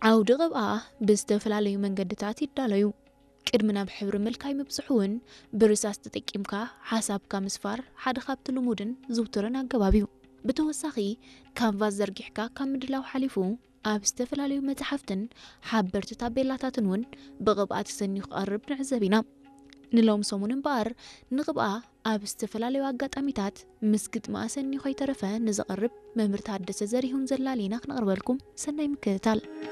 ዓውዲ ቅብኣ ብዝተፈላለዩ መንገድታት ይዳለዩ። ቅድሚ ናብ ሕብሪ ምልካይ ምብጽሑ እውን ብርሳስ ተጠቂምካ ሓሳብካ ምስፋር ሓደ ካብቲ ልሙድን ዝውቱርን ኣገባብ እዩ። ብተወሳኺ ካንቫስ ዘርጊሕካ ካብ ምድላው ሓሊፉ ኣብ ዝተፈላለዩ መጽሓፍትን ሓበርቲ ታቤላታትን እውን ብቕብኣ ተሰንዩ ክቐርብ ንዕዘብ ኢና። ንሎም ሰሙን እምበኣር ንቕብኣ ኣብ ዝተፈላለዩ ኣጋጣሚታት ምስ ግጥሚ ኣሰንዩ ከይተረፈ ንዝቐርብ መምህር ታደሰ ዘሪሁን ዘላሊና ክነቕርበልኩም ሰናይ ምክትታል።